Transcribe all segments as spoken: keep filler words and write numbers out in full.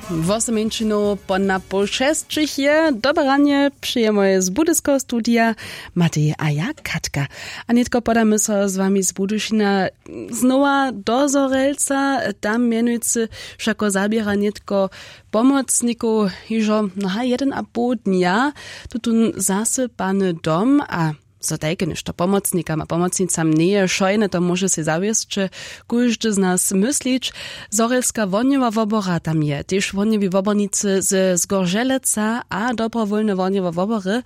Wosomeńšinow po napoł šesćich je dobre ranje, přejemoj z budyskeho studija Matej a ja Katka. A nětko podamy so z wami z Budyšina znowa do Zhorjelca. Tam mjenujcy wšako zaběra nětko pomocnikow hižo, no haj, jeden a poł dnja tutón zasypany dom. A zo tajke něšto pomocnikam a pomocnicam njeje wšojne, to móže sej zawěsće kóždy z nas myslić. Zhorjelska wohnjowa wobora tam je, tež wohnjowi wobornicy ze Zgorželeca a dobrowólne wohnjowe wobory,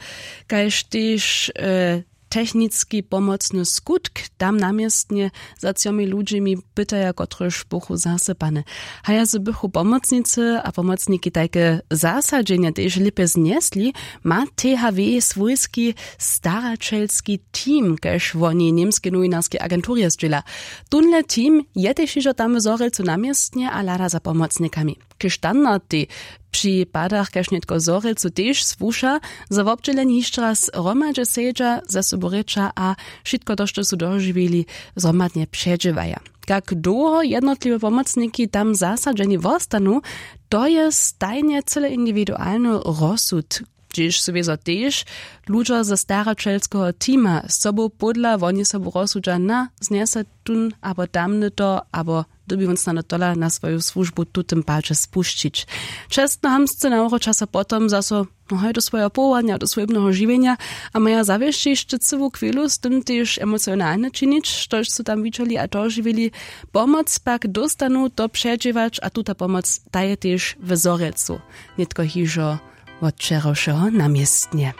kaž tež e, techniski pomocny skutk tam na městnje za třomi ludźemi pytaja, kotrež buchu zasypane. Haja z bychu pomocnicy a pomocniki tajke zasadźenje tež lěpje znjesli, ma T H W swójski staraćelski team, kaž woni w němskej nowinarskej agenturje zdźěla. Tónle team je tež hižo tam w Zhorjelcu na městnje a hlada za pomocnikami. K standardej při padach kaž nětko w Zhorjelcu tež słuša, zo wobdźěleni hišće raz hromadźe sedźa, ze sobu rěča a wšitko to, što su dožiwili, zhromadnje předźěłaja. Kak dołho jednotliwe pomocniki tam zasadźeni wostanu, to je stajnje cyle indiwidualny rozsud, hdźež su wězo tež ludźo ze staraćelskeho teama z sobu pódla woni sobu rozsudźa, na znjese tón abo tamny to, abo dyrbi wón snano tola na swoju słužbu w tutym padźe spušćić. Čestnohamtscy nawróća so potom zaso, no haj, do swojeho powołanja, do swójbneho žiwjenja a maja zawěsće hišće cyłu chwilu z tym tež emocionalnje činić, štož su tam widźeli a dožiwili. Pomoc pak dóstanu to předźěłać a tuta pomoc ta je tež w Zhorjelcu nětko hižo wot wčerawšeho na městnje.